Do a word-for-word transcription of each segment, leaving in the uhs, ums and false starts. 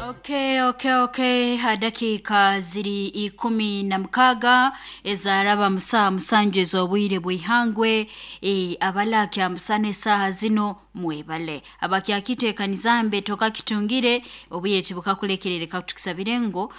Okay, okay, okay. Dakika ziri ikumi na mukaga ezaraba musaha musanju ez'obwire bw'ihangwe e, abalakya musana esaaha zino mwebale abakyakiteekanizambe tokakitungire obwire tibukakulekerere kakutukusabire ngu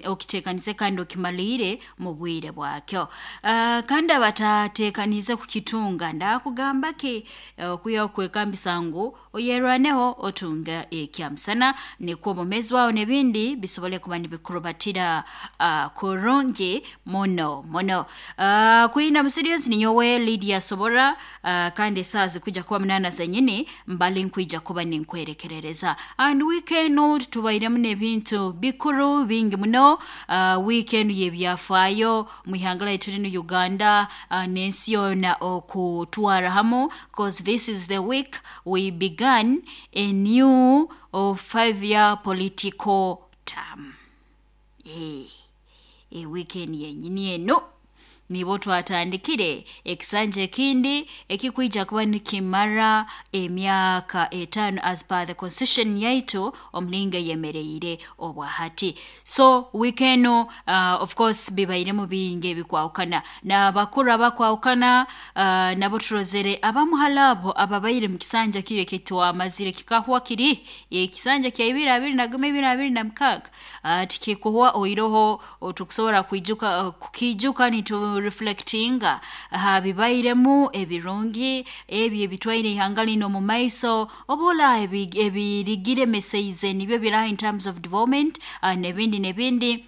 okiteekanize kandi okimaliire mu bwire bwakyo. Uh, kandi abatateekanize kukitunga ndakugamba ki okuya okwekambisa ngu oyerwaneho otunga ekyamusana nikwo obumezi bwawe n'ebindi bisobole kuba nibikurubatira uh, kurungi muno muno. Uh, kwina musirios ninyowe Lydia Sobora uh, kandi esaaha zikuja kuba munana zenyini mbali nkwija kuba ninkwerekerereza. And weekend tubairemu n'ebintu bikuru bingi muno. uh, weekend yebyafaayo mwihanga laitu linu Uganda uh, n'ensi yoona okutwara hamu, cause this is the week we began a new uh, five year political term. Eh, e weekend yenyini eno nibo twatandikire ekisanja ekindi ekikwija kuba nikimara emyaka etaano as per the constitution yaitu omulinga yemereire obwahati. So weekend uh, of course bibairemu bingi ebikwahukana n'abakuru abakwahukana uh, nabo turozere abamuhalabo ababaire mu kisanja kire kitwamazire kikahwa kiri ekisanja kya ibiri abiri na gumi ibiri abiri na mukaga uh, tikikuhwa oiroho tukusobora kwijuka uh, kukijuka nitu reflectinga ha bibairemu ebirungi ebyo ebitwaire ihanga lino mu maiso obola ebirigire meseize nibyo biraha in terms of development uh, nebindi nebindi.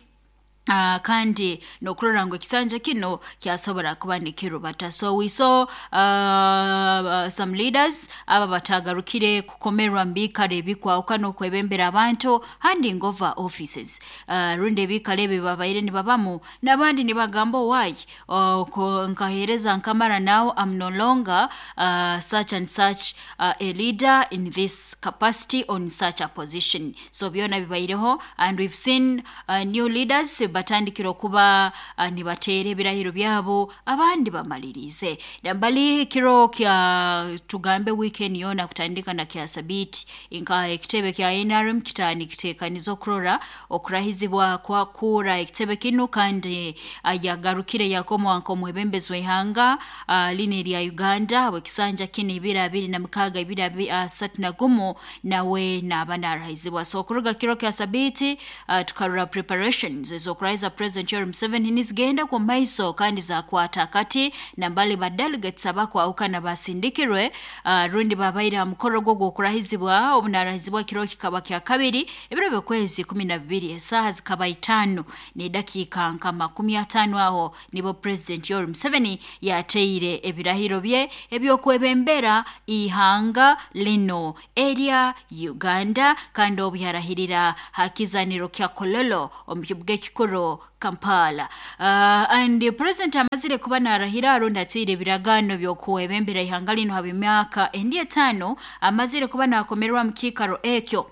Uh, kandi nokurora ngu ekisanja kino kyasobora kuba nikirubata. So we saw uh, some leaders aba batagarukire kukomerwa mbikare ebikwahukana okwebembera abantu handing over offices uh, rundi ebikare ebi babaire nibabamu n'abandi nibagamba why uh, nkahereza nkamara now I'm no longer uh, such and such uh, a leader in this capacity on such a position. So byona bibaireho and we've seen uh, new leaders batandikira okuba uh, nibateera ebirahiro byabo abandi bamalirize nambali kiro kya tugambe weekend yona kutandika na kya sabiti nka ekitebe kya N R M kitani kitekaniza okurora okurahizibwa kwa kura ekitebe kinu kandi uh, yagarukire yakomwa nka omwebembezi w'ihanga uh, line lya Uganda wekisanja kini ibiri abiri na mukaga ibiri asatu na gumu nawe naba narahizibwa. So okuruga kiro kya sabiti uh, tukarora preparations ez'okuraiza President Yoweri Museveni nizigenda kwa maiso kandi zakwata kati nambali ba delegates abakwahukana basindikirwe uh, rundi babaire ha mukoro gwo gw'okurahizibwa obunarahizibwa kiro kikaba kya kabiri ebiro by'okwezi kumi na bibiri esaaha zikaba itaano n'edakiika nka makumi ataano aho nibo President Yoweri Museveni yateire ebirahiro bye ebyokwebembera ihanga lino erya Uganda kandi obu yarahirira hakizaniro kya Kololo omu kibuga ekikuru Kampala. Uh, and the president amazire kuba narahira arundi ateire ebiragano by'okwebembera ihanga lino haba emyaka endi etaano amazire kuba nakomerwa mu kiikaro ekyo.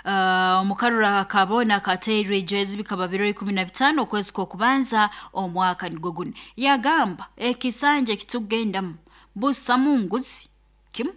Omukarura uh, kabona kateirwe ejwezi bikaba biro ikumi na bitaano okwezi kw'okubanza omwaka nigwo guno yagamba ekisanja ekitugendamu busamu nguzi kimu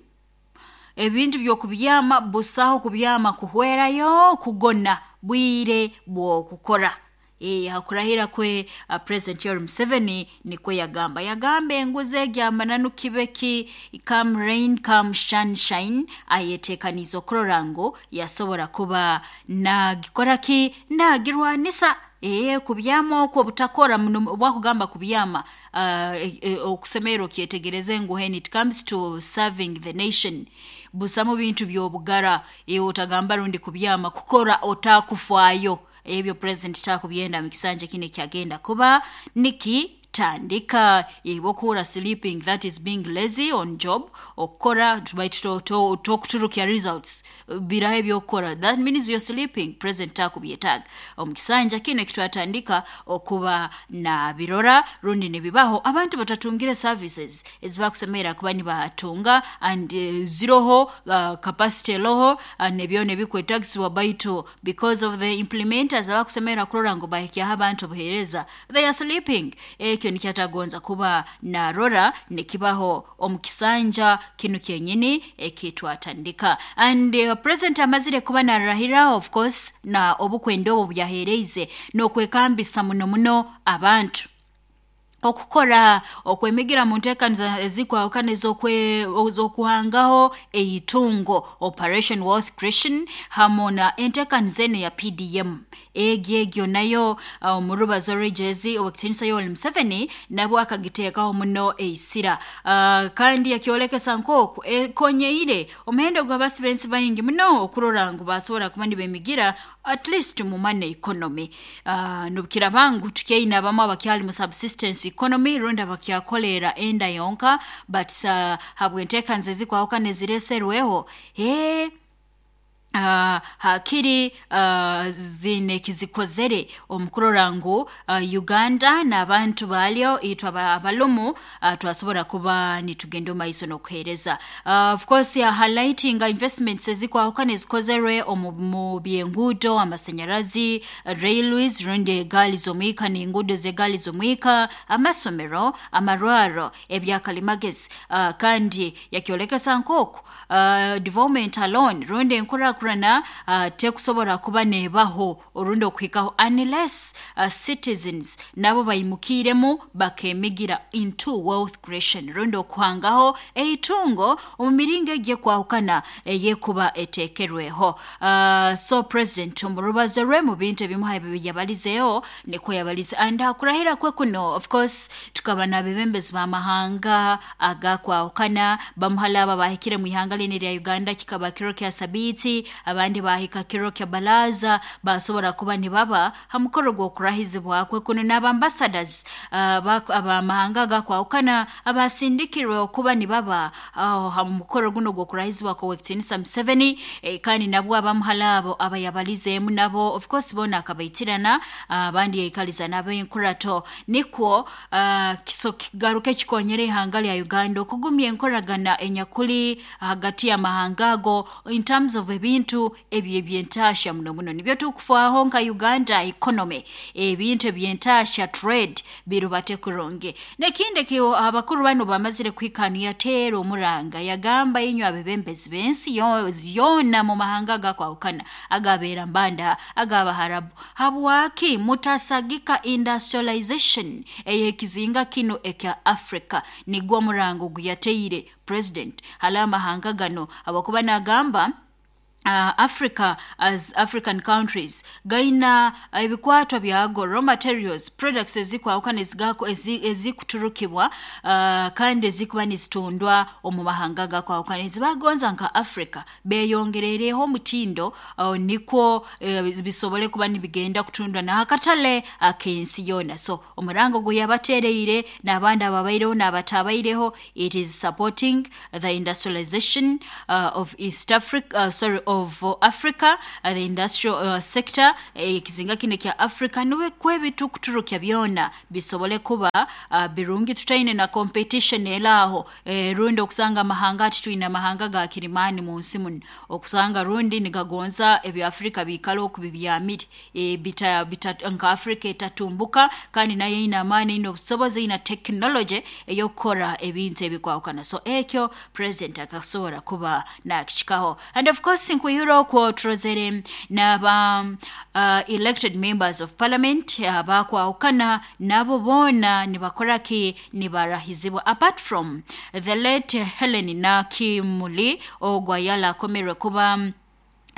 ebintu by'okubyama busaho kubyama kuhwerayo kugona bwire bw'okukora. E, hakurahira kwe uh, President Yoweri Museveni nikwe yagamba yagamba enguzi egyamananu kibeki come rain come sunshine ayetekaniza okurora ngu yasobora kuba nagikora ki nagirwanisa e, kubyama okwo butakora muno bwakugamba kubyama uh, e, e, okusemera okyetegereze ngu when it comes to serving the nation busamu bintu by'obugara e, otagamba rundi kubyama kukora otakufaayo ebyo president takubyenda mu kisanja kine kyagenda kuba niki tandika ibokura sleeping, that is being lazy on job okora baitu tokuturukya results birahe byokora, that means you're sleeping. President takubyetaga omukisanja kino kitwatandika okuba na birora rundi nibibaho abantu batatungire services ezibakusemera kuba nibatunga and uh, ziroho uh, capacity loho uh, nebyo nebikwetagisibwa baitu because of the implementers abakusemera kurora ngo bahikya abantu obuhereza they are sleeping. Ekyo Ekyo nikyo atagonza kuba narora nikibaho omu kisanja kinu kyenyini ekitwatandika. And uh, president amazire kuba narahira, of course, na obukwenda obu byahereize n'okwekambisa muno muno abantu okukora okwemigira mu nteekaniza ezikwahukana ez'okuhangaho eitungo, Operation Wealth Creation, hamu na enteekaniza enu ya P D M. Egyo egyo nayo omu uh, rubazo rw'ejezi owekitiinisa Yoweri Museveni nabwo akagiteekaho muno eisira, uh, kandi yakyolekesa nk'oku ekonyeire omuhendo gw'abasi b'ensi baingi muno okurora ngu basobora kuba nibemigira at least mu money economy. Uh, nubukiraba ngu tukyaine abamu abakyali mu subsistence economy rundi abakyakolera enda yonka, but uh, habw'enteekaniza ezikwahukana ezireserweho eh Uh, hakiri uh, zine kizikozere omukurora ngu uh, Uganda n'abantu balyo itwe abalumu uh, twasobora kuba nitugenda maiso n'okuheereza. Uh, of course ya highlighting investments ezikwahukana ezikozerwe omu mu byenguudo, amasanyarazi, railways rundi egaali z'omwika n'enguudo z'egaali z'omwika, amasomero, amarwaro, ebyakalimagezi. Uh, kandi yakyolekesa nk'oku uh, development alone rundi enkurakurana Uh, tekusobola kuba nebaho orundi okuhikaho unless uh, citizens nabo bayimukiremu bakemigira into wealth creation rundi okuhangaho eitungo omu miringo egyekwahukana eyekuba etekerweho. Uh, so president omu rubazo rwe mu bintu ebimu yabalizeeho nikwo yabalize. And akurahira kwe kuno, of course, tukaba n'abebembezi b'amahanga agakwahukana, bamuhala aba bahikire mu ihanga lini lya Uganda kikaba kiro kya Sabiiti, abandi bahika kiro kya balaza basobora kuba nibaba ha mukoro gw'okurahizibwa kwe kuno, n'abambassadors uh, abamahanga agakwahukana abasindikirwe okuba nibaba uh, ha mukoro guno gw'okurahizibwa kw'owekitiinisa Museveni. Eh, kandi nabwo abamuhala abo abayabalizeemu nabo of course bona akabaitirana, abandi uh, yaikaliza n'abenkurato nikwo uh, kiso kigaruke kikonyere ihanga lya Uganda okugumya enkoragana enyakuli hagati y'amahanga ago in terms of ebintu ebyo ebyentasha muno muno nibyo tukufaaho nka Uganda economy, ebintu ebyentasha trade birubate kurungi. Nekindi kyo abakuru bano bamazire kwikanu yateera omuranga yagamba inywe abebembezi b'ensi yona mu mahanga gakwahukana agabeera mbanda agabaharabu, habwaki mutasagika industrialization eyekizinga kino ekya Africa? Nigwo omurango guyateire president hala amahanga gano abakuba nagamba Uh, Africa as African countries gaina ebikwatwa uh, byago raw materials products ezikwahukana ezigako ezikuturukibwa uh, kandi ezikuba nizitundwa omu mahanga gakwahukana ezibagonza nka Africa beyongerereho omutindo uh, nikwo uh, bisobole kuba nibigenda kutundwa na akatale akensi yona. So omurango guyabatereire n'abandi ababaireho n'abatabaireho, it is supporting the industrialization uh, of East Africa, uh, sorry of Africa, uh, the industrial uh, sector ekizinga eh, kino kya Africa niwe kwebitu kuturukya byona bisobole kuba uh, birungi tutaine na competition elaho eh, rundi okusanga amahanga ati tuina amahanga ga kirimani mu nsi muno okusanga rundi nigagonza ebya Africa bikalo okubibyamire e, bita, bita nka Africa etatumbuka kandi nayo ina amani ina obusobozi ina technology eyokukora ebintu ebikwahukana. So ekyo president akasobora kuba nakishikaho. And of course nkuhiro okwo turozere n'aba uh, elected members of parliament abakwahukana nabo bona nibakora ki nibarahizibwa, apart from the late Helen Nakimuli ogwa yala akomerwe kuba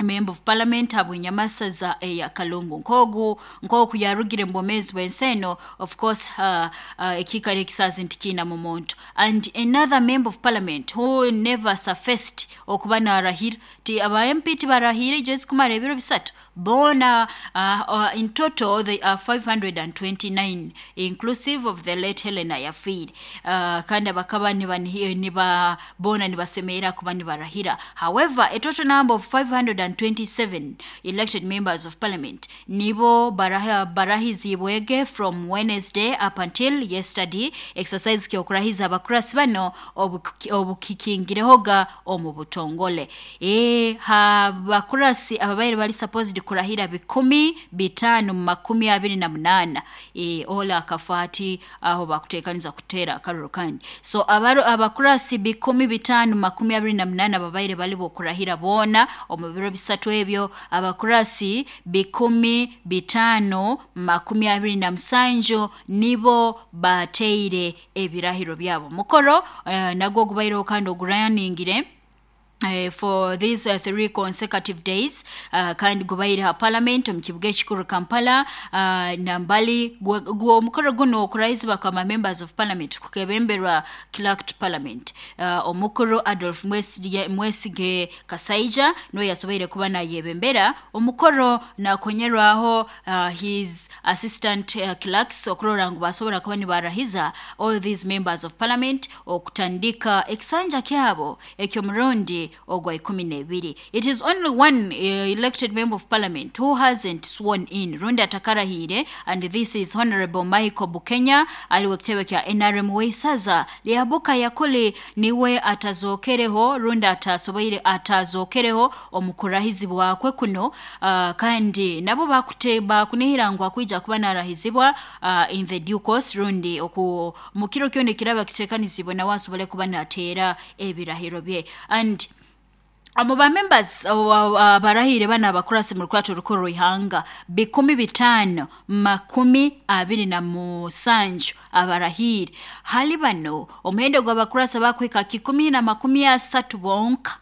member of parliament habw'enyamasaza eya Kalungu nkogu nkoku yarugire mbomezi bw'enseno, of course uh, uh, ekikare ekisazi ntikina mu muntu. And another member of parliament who never surfaced okuba narahira ti aba M P tibarahire just kumara ebiro bisatu bona uh, uh, in total they are five hundred twenty-nine inclusive of the late Helena Yafir, uh, kandi bakaba niba niba bona nibasemera kuba nibarahira. However, a total number of five hundred twenty-seven elected members of parliament nibo baraha barahizibwege from Wednesday up until yesterday exercise kyokurahiza abakurasi bano obukikingirehoga omu butongole. E ha bakurasi ababaire bali supposed kurahira bikumi bitaano makumi abiri na munaana. E, ola akafati aho bakutekaniza kutera akaruru kandi so abaro abakurasi bikumi bitaano makumi abiri na munaana babaire bali bokurahira bona omu biro bisatu ebyo. Abakurasi bikumi bitaano makumi abiri na musanju nibo bateire ebirahiro byabo. Mukoro uh, nagwo gubaireho kandi oguraningire Uh, for these uh, three consecutive days uh, kandi gubaire ha parliament omu kibuga ekikuru Kampala uh, nambali gwo omukoro guno okurahizibwa kwa members of parliament kukebemberwa clerk to parliament uh, omukuru Adolf Mwesige, Mwesige Kasaija niwe yasoboire kuba nayebembera omukoro nakonyerwaho uh, his assistant uh, clerks okurora ngu basobora kuba nibarahiza all these members of parliament okutandika ekisanja kyabo ekyomurundi ogwa ikumi n'ebiri. It is only one uh, elected member of parliament who hasn't sworn in rundi atakarahire, and this is Honorable Michael Bukenya aliwe kitebe kya N R M weisaza lyabuka yakuli niwe atazokereho rundi atasoboire atazokereho omukurahizibwa kwe kuno uh, kandi nabo bakute bakunihira ngu akwija kuba narahizibwa uh, in the due course rundi oku mukiro kyone kiraba kitekanizibwe nawe asobole kuba natera ebirahiro bye. And abo ba members abarahire bana abakurasi mu rukwato rukuru ihanga bikumi bitano makumi abiri na musanju abarahire hali bano omuhendo gw'abakurasi bakwika kikumi na makumi asatu bonka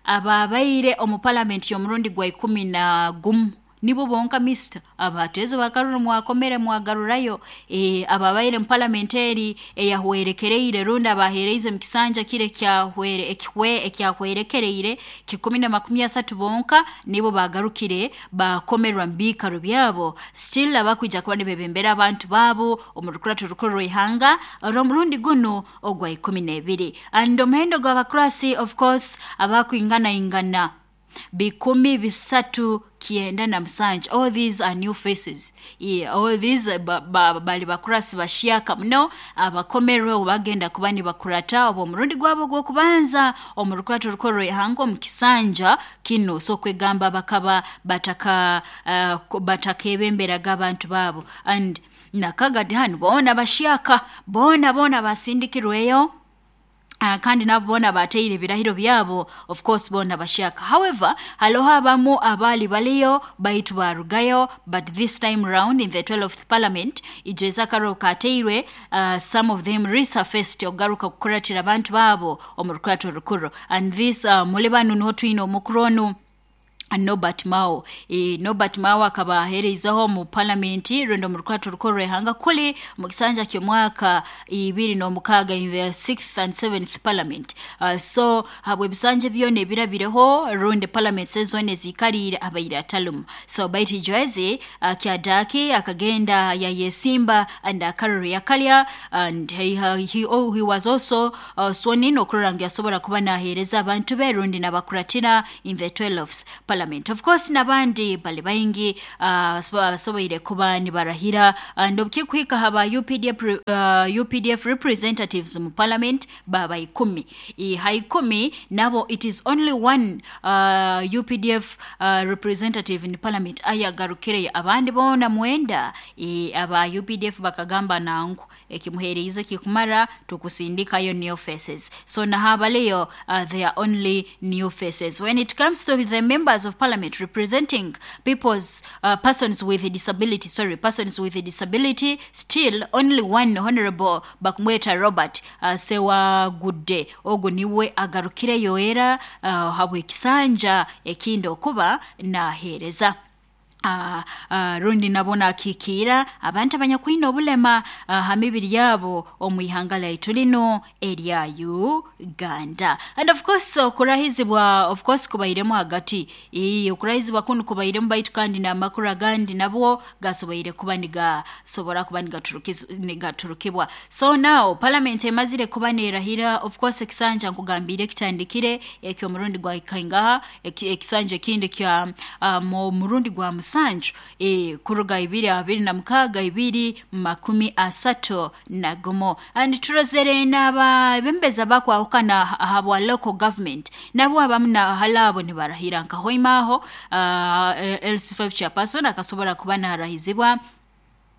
ababaire omu parliament y'omurundi gwa ikumi na gumu nibo bonka mister abateze bakaruru mwakomere mwagarurayo e, ababaire mu parliament eri eyahwerekereire runda abahereize mu kisanja kire kyahwere ekihwe ekyahwerekereire kikumi na makumi asatu bonka nibo bagarukire bakomerwa mbikaro byabo still abakwija kuba nibebembera abantu babo omu rukurato rukuru ihanga romurundi guno ogwa ikumi n'ebiri. And omuhendo gw'abakurasi of course abakwingana ingana bikumi bisatu kienda na musanju. All these are new faces. Yeah, all these ba, ba, bali bakurasi bashiaka muno abakomerwe bagenda kuba nibakurata obo murundi gwabo gwokubanza omu rukurato rukuru ihango mu kisanja kino so kwegamba bakaba bataka uh, batakebemberaga abantu babo. And nakagadi hano bona bashiaka bona bona basindikirweyo Uh, kandi nabo bona bateire birahiro byabo of course bona bashaka. However, haloha abamu abali baliyo baitu barugayo, but this time round in the twelfth parliament ijeza karo kateirwe uh, some of them resurfaced ogaruka kukuratira abantu babo omu rukurato rukuru. And this uh, mulibanu niho twine omukuronu Norbert Mao. E, Norbert Mao akaba ahereizaho mu parliament rwendo mu rukwato rukuru ihanga kuli mu kisanja ky'omwaka ibiri n'omukaaga in the sixth and seventh parliament. Uh, so habwe ebisanja byona ebirabireho rundi parliament zone zikarire abaire atalumu. So baiti joezi uh, kyadaki akagenda yayesimba and akaruru yakalya, and he, he, oh, he was also uh, sworn in okurora ngu yasobora kuba nahereza abantu be rundi nabakuratira in the twelfth parliament. Of course nabandi bali baingi abasoboire uh, kuba nibarahira. And obukikwika haba U P D F, uh, U P D F representatives mu parliament baba ikumi. I haikumi nabo it is only one uh, U P D F uh, representative in parliament ayagarukire abandi bona mwenda. I, aba U P D F bakagamba nangu ekimuhereize kikumara tukusindikayo new faces. So nahabaleyo uh, they are only new faces. When it comes to the members of parliament representing people's uh, persons with a disability, sorry, persons with a disability, still only one Honorable Bakumweta Robert uh, Sewagudde ogo niwe agarukire yoera uh, habwe kisanja ekindo kuba nahereza. Uh, uh, rundi nabona akikira abantu abanyakwina obulema uh, hamibiri yabo omu ihanga lyaitu lino erya Uganda. And of course okurahizibwa of course kubairemu hagati ee okurahizibwa kuno kubairemu baitu kandi n'amakuru agandi nabwo gasoboire kuba nigasobora kuba nigaturukibwa. So now parliament emazire kuba nerahira of course ekisanja nkugambire kitandikire ekyo murundi gwa ikaingaha ekisanja ekindi kya uh, murundi gwa musanju e, kuruga ibiri abiri na mukaga ibiri makumi asatu na gumu. And turozere n'abebembezi abakwahukana habwa local government nabo abamu na halabo nibarahira nka Hoima aho uh, L C five chairperson akasobora kuba narahizibwa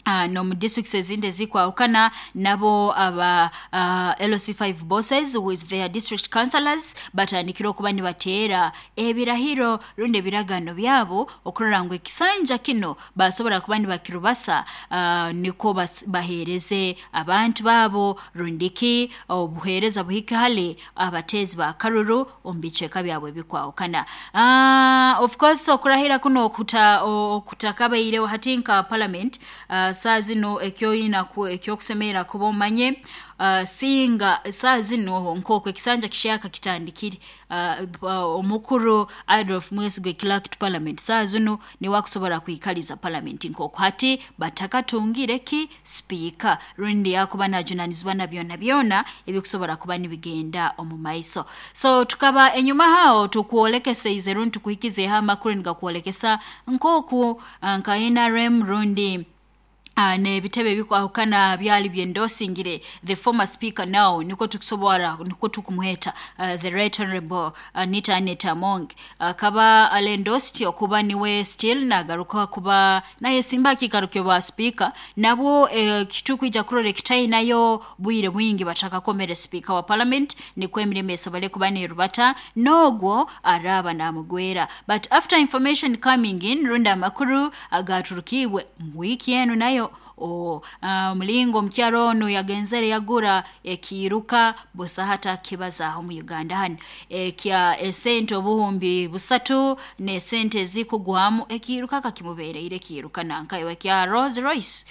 Uh, no mu districts ezindi ezikwahukana nabo aba uh, L C five bosses with their district councillors batandikira okuba nibateera ebirahiro rundi ebiragano byabo okurora ngu ekisanja kino basobora kuba nibakirubasa uh, niko bahereze abantu babo rundiki obuhereza buhike hali abatezi ba karuru omu bicweka byabwe ebikwahukana. Uh, of course okurahira kuno okuta okutakabaireho hati nka parliament uh, saa zino ekyoyina ekyokusemera kuba omanye uh, singa saa zino nk'oku ekisanja kishaka kitandikire uh, uh, omukuru Adolf Mwesigwe clerk to parliament saa zino niwe akusobora kwikaliza parliament nk'oku hati batakatungire ki speaker rundi yakuba najunanizibwa na byona byona ebikusobora kuba nibigenda omu maiso. So tukaba enyuma hao tukuolekeseize rundi tukuhikize amakuru nigakuolekesa nk'oku nka N R M rundi Uh, n'ebitebe bikwahukana byali byendosingire the former speaker now niko tukusobora niko tukumuheta uh, the right honorable Anita Annet Among uh, kaba alendosti okuba niwe still nagaruka kuba naye simba kikarukyo ba speaker nabo eh, kitukwija kurora ekitayi nayo bwire bwingi batakakomere speaker wa parliament nikwo emirimo esobole kuba nerubata nogwo araba namugwera. But after information coming in runda amakuru agaturukiwe mu wiki eno nayo o uh, mulingo mkyaro ono yagenzere yagura ekiruka bosa hata kibazaho mu Uganda hano ekya esente obuhumbi busatu ne sente zikugwamu ekiruka kakimubereire kiruka nanka ekya Rolls Royce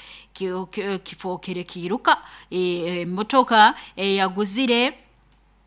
kifokere kiruka emotoka e, yaguzire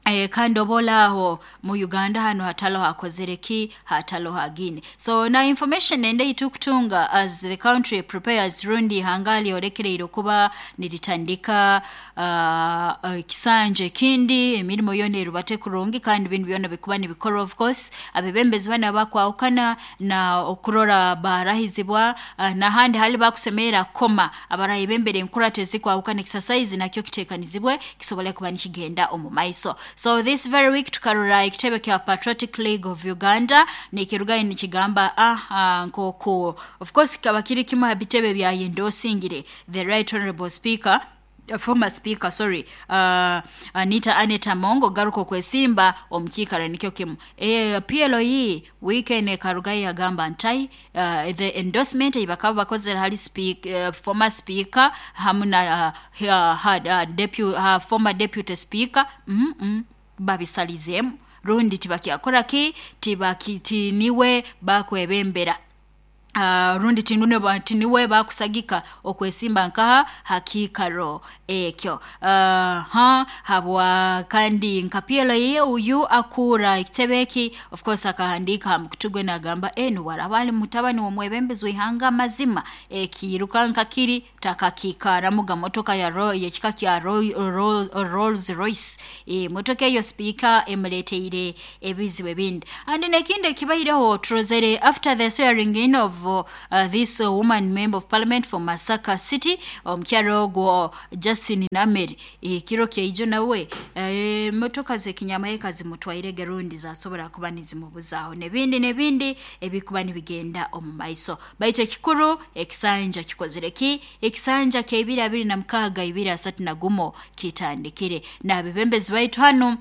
E, kandi obolaho mu Uganda hano hatalo hakozere ki hatalo hagine. So na information ende itukutunga as the country prepares rundi hangali orekereire kuba niritandika uh, uh, kisanje kindi emirimo yona erubate kurungi kandi bintu byona bikuba nibikora of course abebembezi bana bakwahukana na okurora barahizibwa uh, nahandi hali bakusemera koma abarayi bembere enkurate zikwahukana exercise nakyo kitekanizibwe kisobole kuba nikigenda omu maiso. So this very week tukarora ekitebe kya Patriotic League of Uganda nikirugayo nikigamba ah, ah nkoko of course kaba kiri kimu habitebe bya yendosingire the right honorable speaker uh, former speaker sorry uh, Anita Annet Among garuko kwesimba omukikara nikyo kimu e, P L E weekend karugayo yagamba ntai uh, the endorsement ibakaba bakozera hali speak, uh, former speaker hamu na uh, uh, uh, deputy, uh, former deputy speaker mm -mm, babisalizemu rundi tibakyakora ki tibakitiniwe bakwebembera Uh, rundi tinune ba tiniwe bakusagika okwesimba nkaha hakikaro ekyo uh, ha habwa kandi nka P L E uyu akura ekitebeki of course akahandika mukutugwe nagamba enu warabali mutabani womwebembezi wihanga mazima ekiruka nkakiri takakikaramuga motoka ya ro yekika kya Ro, Rolls Royce e, motoka eyo speaker emuleteire ebizibu ebindi. And nekinde kibaireho trozere after the swearing in of uh, this uh, woman member of parliament for Masaka City omukyaro gwo Justin Nameri ekiro kyeijo nawe e, motoka zekinyama zimutwaire gerundi zasobora kuba nizimubuzaaho nebindi nebindi ebikuba nibigenda omu maiso. Baitu ekikuru ekisanja kikozere ki ekisanja kya ibiri na mukaga ibiri asatu na gumo kitandikire n'abebembezi baitu hano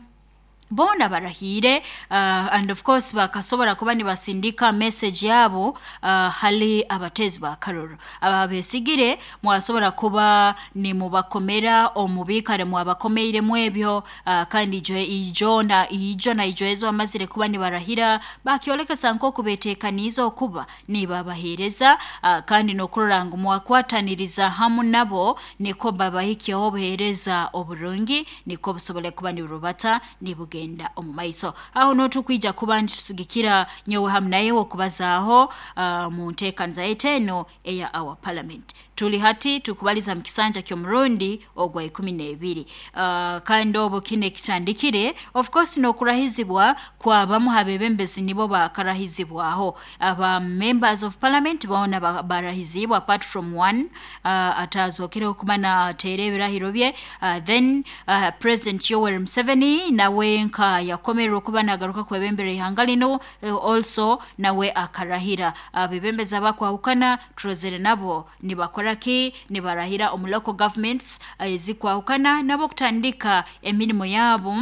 bona barahire uh, and of course bakasobora kuba nibasindika message yabo uh, hali abatezi ba karoro ababesigire mwasobora kuba ni mubakomera omubikare mwabakomeire mwebyo uh, kandi ijo na ijo na ijoezo amazire kuba nibarahira bakyolekesa nko kubetekaniza okuba nibabahereza uh, kandi nokurora ngu mwakwataniriza hamu nabo niko babahikyeho obuhereza oburungi niko busobole kuba nirubata nibuge genda omu maiso. Aho notukwija kuba nitusigikira nyowe hamu naye okubazaaho uh, mu nteekaniza yaitu eno eya our parliament. Tuli hati tukubaliza mukisanja ky'omurundi ogwa ikumi n'ebiri. Uh, kandi obu kine kitandikire, of course n'okurahizibwa kwa bamu habebembezi nibo bakarahizibwaho. Aba members of parliament bona barahizibwa apart from one uh, atazokere okuba nateera ebirahiro bye. Uh, then uh, President Yoweri Museveni nawe nka yakomererwa okuba nagaruka kwebembera ihanga lino, uh, also nawe akarahira. Abebembezi abakwahukana turozere nabo nibakora ki, nibarahira omu local governments ezikwahukana, uh, nabo kutandika emirimo yabo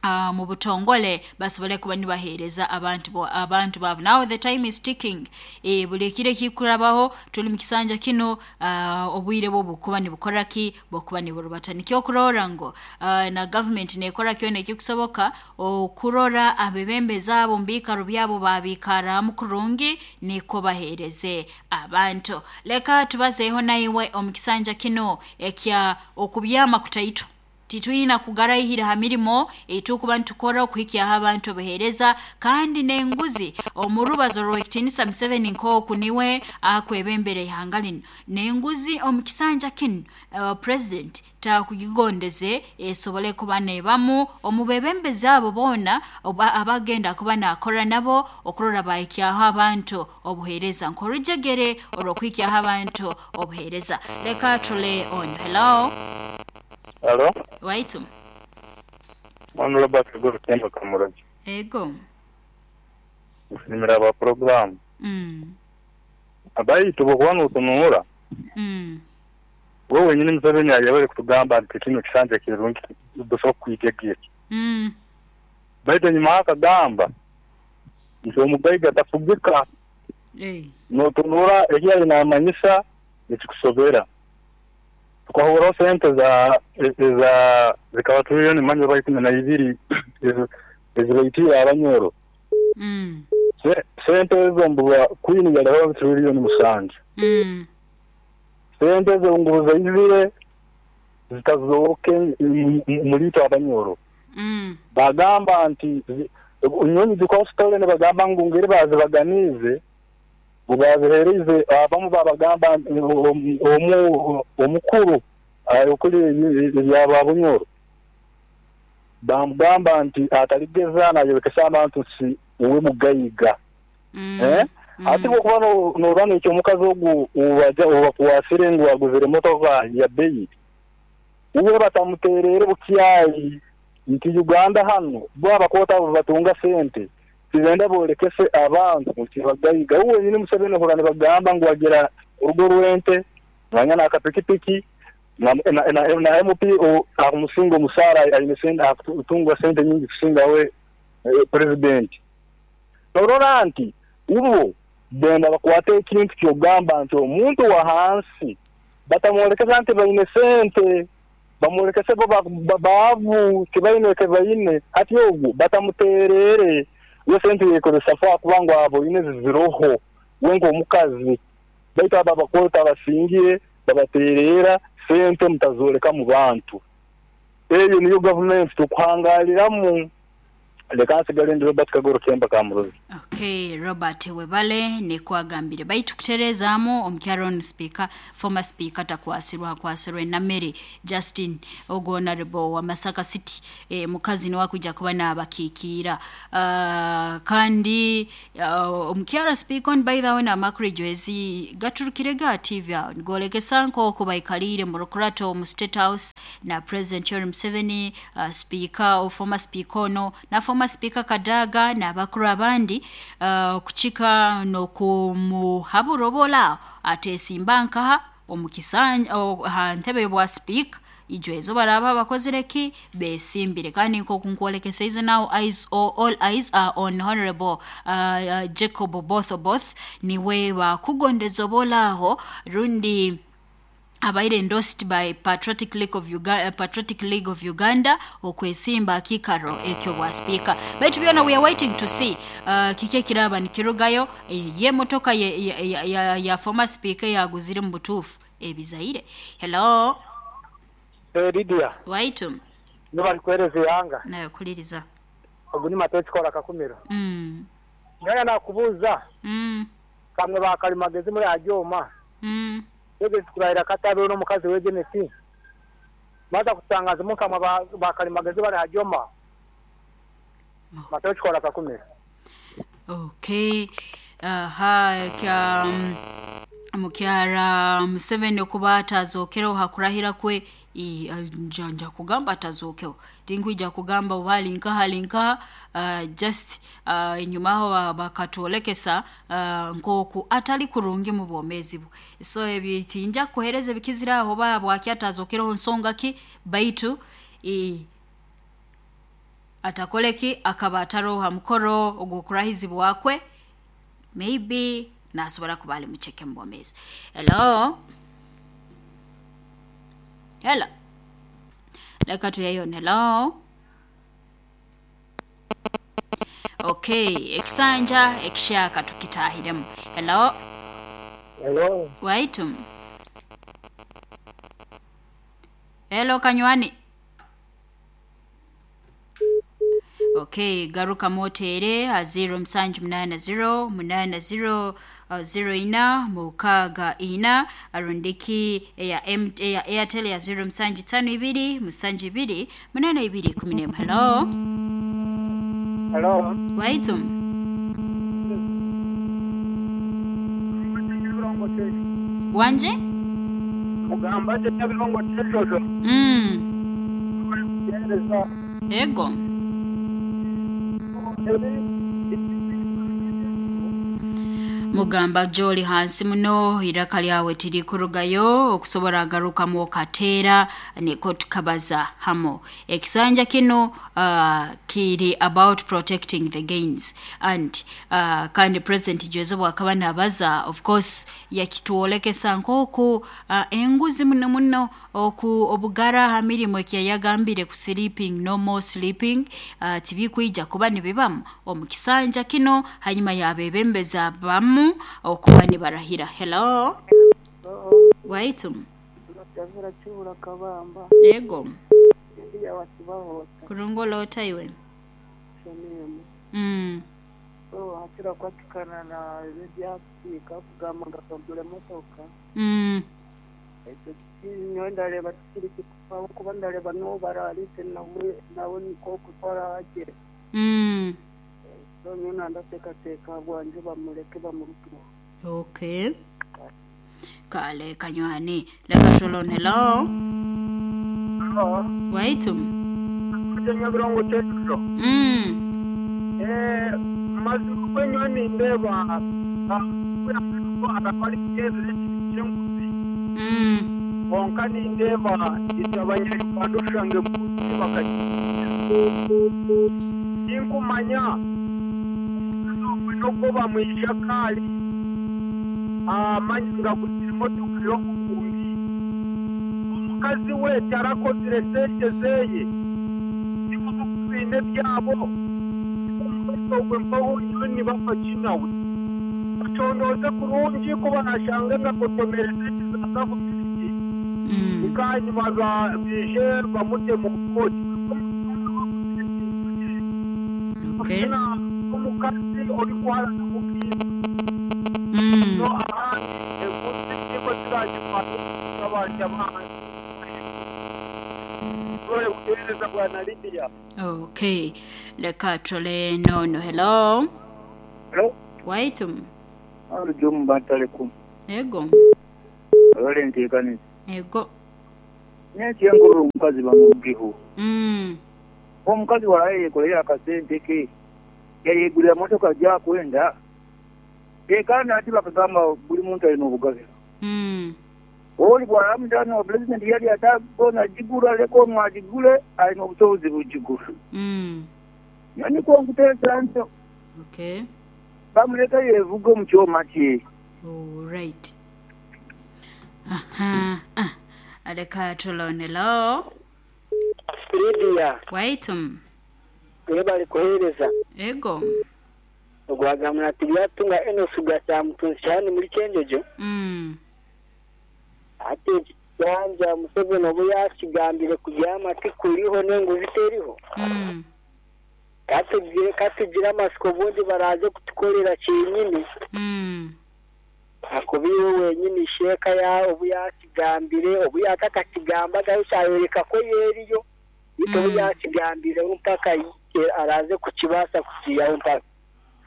Uh, mu butongole basobole kuba nibaheereza abantu bo abantu babo. Now the time is ticking. E, buli kire kikurabaho tuli mu kisanja kino, uh, obwire bwo bukuba nibukora ki, bokuba niburubata. Nikyo kurora ngo uh, na government nekora kyona ekikusoboka okurora abebembezi abo mbikaro byabo babikaramu kurungi niko baheereze abantu. Leka tubazeeho naiwe omu kisanja kino ekya okubyama kutaito. Titwina kugarahira ha mirimo etukuba ntukora okuhikya abantu obuheereza kandi n'enguzi. Omurubazo rw'ekitinisa Museveni nk'oku niwe akwebembera ihanga lino, n'enguzi omu kisanja kino uh, president takugigondeze esobole kuba nebamu omubebembezi abo boona abagenda kuba nakora nabo okurora bahikyaho abantu obuheereza nk'orujegere olw'okuhikyaho abantu obuheereza. Leka tule on. Hello. Hello? Waitu. Mwana Robert Guru Kemba Kamuraji. Ego. Nimira ba program. Mm. Abayi tubokwano utunura. Mm. Wewe nyine Museveni yabere kutugamba nti kino kisanja kirungi dusobola kwitegeka. Mm. Baitu nyuma akagamba nti omugaiga tafugika. Eh. Notunura ekyali namanyisa ekikusobera. Tukahura sente za za zikaba trillioni manje ba ikumi na ibiri ezibaitira abanyoro. Mm. Se, sente ezo mbuga queen yalaba trillioni musanju. Mm. Sente ezo nguza izire zitazoke mulito abanyoro. Mm. Bagamba nti nyonyi zikositole ne bagamba ngu ngeri bazibaganize bubazihereze abamu babagamba omu omukuru ayokuli ebyababunyoro bamugamba nti ataligeza nayolekesa abantu si uwe mugayiga. Mm. Eh? Mm. Ati bwokuba norwana ekyo omukazi ogu ubaja ubakuwasire ngu aguzire motoka ya beyi uwe batamuterere bukyayi nti Uganda hano bo abakota batunga sente tizenda bolekese abantu nti bagayiga. Uwe nyine Museveni hora nibagamba ngu agira urugo rwente banyana akapikipiki na na, na, na M P akumusinga omusara ayine sente akutungwa sente nyingi kusinga we eh, president. Norora nti ubu benda bakwate ekintu kyogamba nti omuntu wa hansi batamwolekesa nti bayine sente bamwolekese bo bavu tibayine kebayine ati ogu batamuterere we sente yekozesa fa kubanga abo ine ziroho wengo omukazi baitu aba bakota basingiye babaterera sente mutazoleka mu bantu. Eyo niyo government tukuhangaliramu. Leka nsigale ndi Robert Kagoro Kemba Kamurozi. Okay, Robert webale nekwagambire baitu kutereezaamu omukyalo speaker, former speaker takwasirwa akwasirwe na Mary Justin ogo honorable wa Masaka City, e, mukazi niwe akwijja kuba n'abakiikiira. Uh, kandi uh, omukyalo speaker on by the way n'amakuru ezi gaturukire ga T V awo nigolekesa nk'oku baikaliire mu Rukurato mu State House na President Yoweri Museveni, uh, speaker o former speaker ono na former speaker Kadaga n'abakuru abandi, uh, kuchika n'okumuhaburobola ateesimba nkaha omukisanja ha ntebe bwa speaker ijo baraba bakozire ki besimbire. Kandi nkokunkwolekesa ize now eyes all, all eyes are on honorable uh, Jacob Oboth niwe bakugondeza obolaho rundi abaire endorsed by Patriotic League of Uganda, Patriotic League of Uganda okwesimba akikaro ekyo bwa speaker. Baitu byona we are waiting to see uh, kike kiraba nikirugayo ye motoka ye, ya, ya, ya, ya former speaker yaguzire mu butufu ebizaire. Hello. Eh Lydia. Waitu. Nobali kueleza yanga. Nayo kuliriza. Oguni mateti kola kakumiro. Mm. Nyaya nakubuza. Mm. Kamwe bakalimagezi muri ajoma. Mm. Weze kurahira katabe n'omukazi we Jenesi. Maza kutangaza mukama bakalimagezi bali hajoma. Matochi kola kakumira. Okay. Aha kya um, mukyara Museveni okuba atazookereho hakurahira kwe nja nja kugamba atazookeho tinkwija kugamba oba ali nkaha ali nkaha uh, just uh, enyuma aho bakatwolekesa uh, nk'oku atali kurungi mu bwomeezi bwe so ebyo tinja kukuheereza ebikizira aho oba bwaki atazookereho nsonga ki baitu i, atakoleki akaba ataroho ha mukoro ogw'okurahizibwa kwe maybe nasobora kuba ali mucheke mu bwomeezi. Hello. Hello. Leka tuyayone. Hello. Okay, ekisanja ekishaka tukitahiremu. Hello. Hello. Waitum. Hello kanywani. Okay, garuka motere a zero musanju munana zero munana zero uh, zero ina mukaga ina arundiki ya M ya Airtel ya zero musanju tano ibiri musanju ibiri munana ibiri kumi n'emu. Hello. Hello. Waitum. Wanje? Mugamba je nyabirongo chejojo. Mm. Ego. Mugamba joli hansi muno iraka lyawe tiri kurugayo okusobora agarukamu okateera niko tukabaza hamo ekisanja kino uh, kiri about protecting the gains and uh, kandi president Joseph bwakaba nabaza of course yakituolekesa nkoku uh, enguzi muno muno oku obugara ha mirimo ekiyagambire ku sleeping no more sleeping uh, tibikwija kuba nibibamu omu kisanja kino hanyuma yabebembeza bamu okuba nibarahira. Hello. Waitum. Yego. Kurungo taiwe. Mm. Mm. Mm. Okay. Kale kanywani. Leka tulone. Hello. Hello. Waitum. Mm. Eh, mazimu kwenywani ndeba Mm. Konka nindeba itabanyarwanda ushange muzi bakagira. Inkumanya noko bamwishakali amanyanga kugira imodoka yo kukumbi omukazi we tarakozire sente zeye niko bine byabo ogwe mpaho ni bafakinawe bacondoze kurungi kuba nashanga ngakotomere sente za gavumenti ikanyuma bije bamute mu koti. Okay. Omukazi ori kwara namubwira. Mm. No ahandi ekuzi niko ziragifata abantu abandi. Bwana Lydia. Okay. Leka tole no no. Hello. Hello. Waitum. Alujumu batalekum. Ego. Abale ntekane. Ego. Nyeche nguru omukazi bamugiho. Mm. Omukazi walaye yekolera akasente ke. Yayegulira motoka ja kwenda. Ekana ati bakagamba buli muntu alina obugabe. Mm. Oli bwana mutano president yali atagona jigura leko mwajigule alina obusobozi bujigula. Mm. Yani ko nkuteesa nto. Okay. Bamuleka yevuga mu kyoma kye. All right. Aha. Ah. Aleka tulone lo. Lydia. Waitum. Webali kuhereza. Ego. Ogwagamuna tibyatunga eno sugasa mutunshani muri kenjojo. Mm. Ate kyanja Museveni obu yakigambire kuryama tikuriho n'enguzi teriho. Mm. Katugire katugira amasiko bundi baraze kutukorera kinyini. Mm. Kuba iwe wenyini sheeka ya obu yakigambire, obu yatakakigambaga kyayoreka ko yeriyo. Ito obu Mm. yakigambire mpaka i- araze kukibaasa kukiyaho mpaka.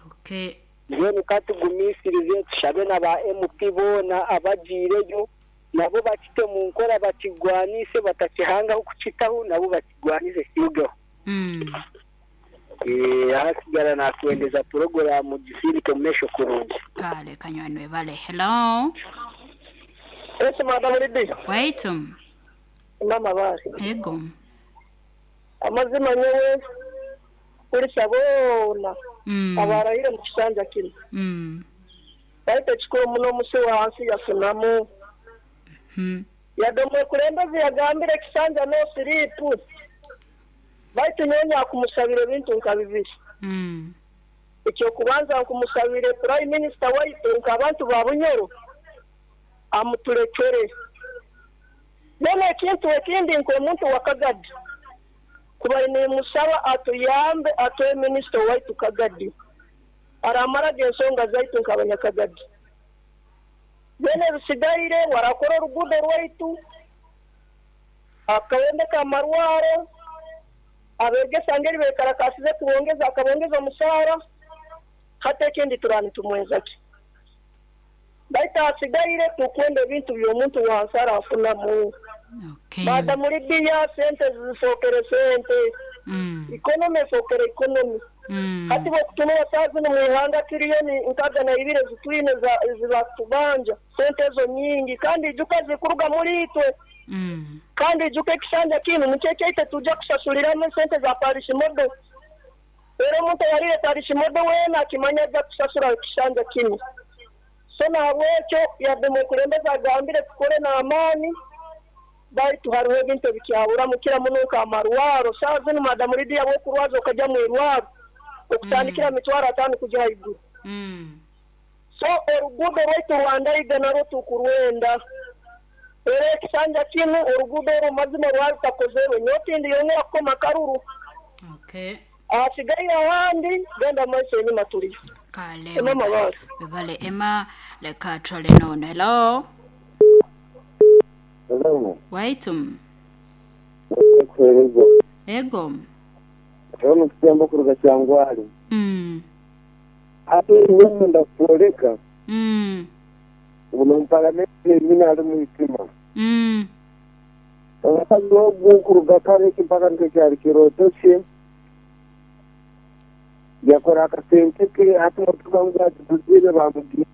Okay. Mbwenu katugumisirize tushabe na ba M P boona abagiireyo nabo bakite mu nkora bakigwanise batakihangaho kukitaho nabo bakigwanise kirugeho. Mm. Eh, ahasigara nakwendeza porogaramu gisindike mu maisho kurungi. Kale kanywani webale. Hello. Ese Madam Lydia. Waitum. Mama bari. Ego. Amazima nyewe kulisa boona Mm. abarahire mu kisanja kino. Mm. Baita ekikuru muno omusi wansi yafunamu. Hmm. Yadde omukulembeze yagambire ekisanja no siripu. Baitu nyowe nyakumusabira ebintu nka bibiri. Mm. Ekyokubanza nkumusabire Prime Minister waitu nk'abantu ba Bunyoro amuturekere. None ekintu ekindi nk'omuntu wa Kagadi kuba nimusaba atuyambe atuhe minisita waitu Kagadi aramaraga ensonga zaitu nk'abanyakagadi. Bene bisigaire warakora oruguudo rwaitu akabondeka amarwaro abegesa ngeri bekarakasize kubongeza akabongeza omusaara hata ekindi turani tumwenzaki. Baitu hasigaire tukwenda ebintu by'omuntu wansi arafunamu. Okay. Madamu Lydia sente zifokere sente. Mm. Ikonomi efokere ikonomi. Mm. Hati bwokutumira saa zino mu ihanga tiriyoni nkaga na ibiri zitwine zibakutubanja sente ezo nyingi kandi ijuka zikuruga muri itwe. Mm. Kandi ijuka ekisanja kinu nikyo ekyaite tujja kusasuliramu sente za parish model. Era omuntu oyarire parish model weena akimanya ajja kusasura ekisanja kinu. So nahabwekyo yadde omukulembeze agambire tukore n'amaani baitu hariho ebintu ebikyaburamu kira muno nk'amarwaro. Saa zinu Madamu Lydia bw'okurwaza okajja mu irwaro okutandikira Mm. mitwaro ataano kujya haiguru. Mm. So oruguudo rwaitu Rwandaiga narwo tukurwenda. Era ekisanja kinu oruguudo orwo mazima rwari rutakozerwe nyowe tindiyongera kukoma karuru. Okay. Ahasigaire ahandi genda mumaiso enyuma turiyo. Kale Emma webale. Mabare. Webale Emma leka twale nono. Hello. Hello. Waitum. Kuhereza. Ego. Rero kutemba kuruga Kyangwali. Mm. Ate iwe ndakuoleka. Mm. Uno mpalamenti mina ali mu itima. Mm. Abakazi ogu kuruga kare mpaka nkekyali kiroto kye. Yakora akasente ke ati motoka ngu atuzire bamugire.